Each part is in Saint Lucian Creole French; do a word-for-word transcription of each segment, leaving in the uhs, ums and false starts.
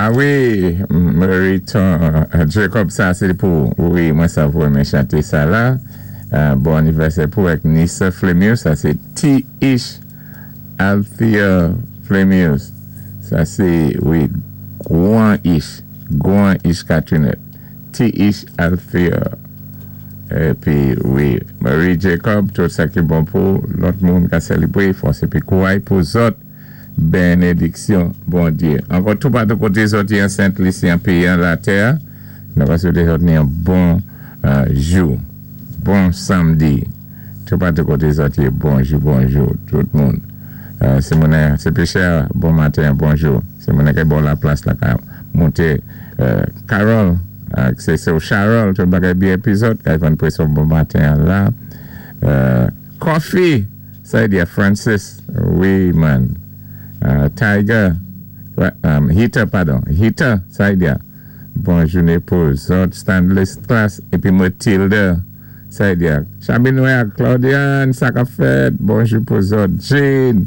Ah wi, Meriton Jacob, sa sé pou, wi, mwen sa vwé chanté sa la. Euh, bon anivèsè pou avèk Nissa Flemius, sa sé T-Ish Althea Flemius. Sa sé, wi, gwan Ish, gwan Ish Catrinette. T-Ish Althea. Épi, wi, Marie Jacob, tout sa ki bon pou lòt moun ka sélébwé, fòs épi kouway pou zòt, bénédiksyon, Bondyé. Ankò tout patou koté zòt an Sent Lisi, an péyi an latè, nou va swété zòt ni yon bon euh, jou, bon samdi. Tout patou koté zòt, bonjou, bonjou, tout moun. Euh, sé moun, sé péchè, bon maten, bonjou. Sé moun ki bò la plas la, ka monté. Euh, Carol, euh, sé sé Charol, tout bagay byen épi zòt, ki vann pwéson bon maten la. Euh, Coffee, sa di Francis, wi, man. Euh, Tiger, um, Heater, padon, Heater, sa di bon jouné pou zòt, Stanley Class, épi Matilda, sa di Chabinoy Claudiane, sa ka fèt, bonjou pou zòt, Jane,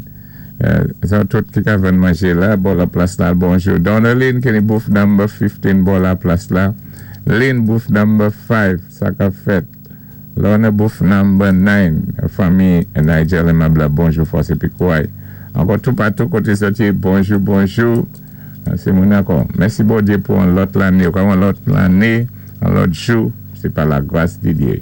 euh, zòt tout ki ka vin manjé la, bò la plas la, bonjou. Donaline, ki booth number fifteen, bò la plas la. Lynn, booth number five, sa ka fèt. Lorna, booth number nine, fanmi Nigel et Mabla, bonjou, fòs épi kouway. Ankò tout patou koté zòt, bonjou, bonjou. Sé moun ankò. Mèsi Bondyé pou yon lòt lanné, yon lòt lanné, yon lòt jou. Sé pa la gras di Dyé.